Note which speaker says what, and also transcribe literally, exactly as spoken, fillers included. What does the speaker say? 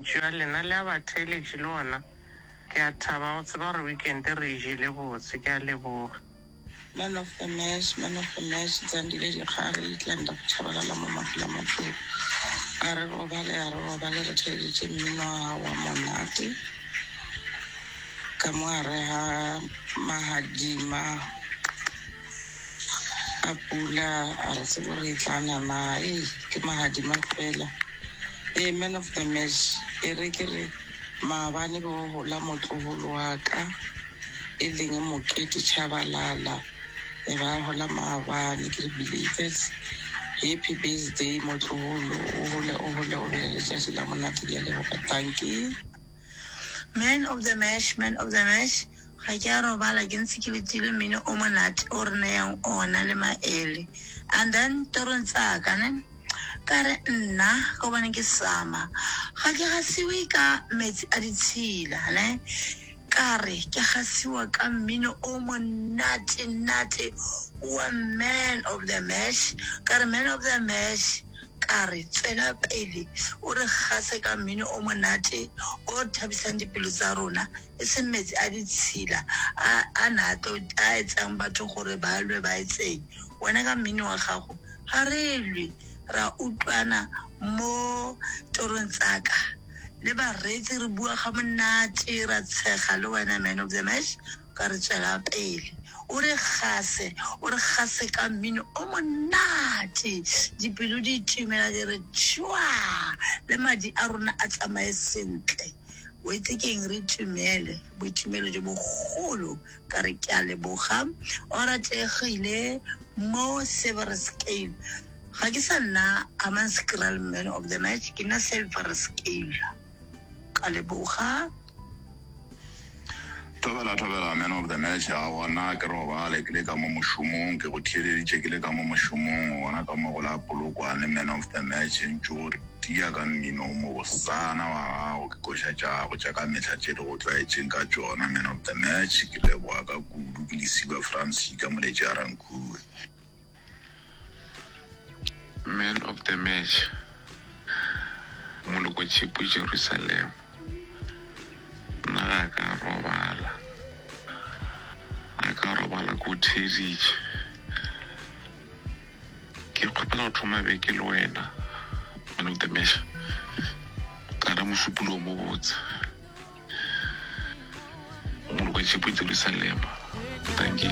Speaker 1: Mantšu a lena le a batheeletši le ona. Ke a thaba go tseba gore weekend re e jele botse. Ke a leboga.
Speaker 2: Man of the match, man of the match, Zandile Dikgare, Itlanda go Tshabalala mo Mafela. A re robale, a re robale, re theeleditše mmino wa gago wa monate. Ka mo gare ga mahadima a pula, a re tsebe gore e tla na na, ei, ke mahadima fela. Ee, man of the match, e re ke re maabane be go gola motlogolo wa ka, e leng Mokete Tshabalala. E ba gola maabane, ke re belated happy birthday motlogolo, o gole o gole o be le letšatši la monate. Ke a leboga, thank you.
Speaker 3: Man of the match, man of the match, ga ke a robala ke ntse ke letile mmino o monate o re nayang ona le maele. And then torong tsaka ne ka re nna ka gobane ke sama ga ke gasiwe ka metsi a ditshila ne, ka re ke gasiwa ka mmino o monate nate wa man of the match. Ka re man of the match, ka re tswela pele o re gase ka mmino o monate o thabisang dipelo tsa rona, e seng metsi a ditshila a a na a tlo a etsang batho gore ba lwe ba etseng. Wena ka mmino wa gago ga re lwe, ra utlwana mo torong tsaka le bareetsi, re bua ga monate, ra tshega le wena man of the match. Ka re tswela pele o re gase, o re gase ka mmino o monate, dipelo di itumela di re tšhwa, le madi a rona a tsamaye sentle. O itse keng, re itumele boitumelo jo bogolo. Ka re ke a leboga, o rategile mo Silver Scale. Ga ke sa nna Hammanskraal man of the match, ke nna Silver Scale. Ka leboga.
Speaker 4: Thobela, thobela, man of the match. A gona ke robale ke le ka mo mošomong, ke go theeleditše ke le ka mo mošomong gona ka mo go la Polokwane. Man of the match, ntše o tia ka mmino o mobosana wa gago, ke koša tša gago tša ka mehla tše di go tlwaetšeng ka tšona. Man of the match, ke leboga ka kudu. Ke Lesiba Francis ka Moletši a Rankuwe.
Speaker 5: Man of the match, Moloko Tšhipu Jerusalem. Nna ga ka robala, ga ka robala ko theeditše. Ke kgopela go thoma beke le wena, man of the match, ka ra mošupologo mo botse. Moloko Tšhipu Jerusalem, thank you.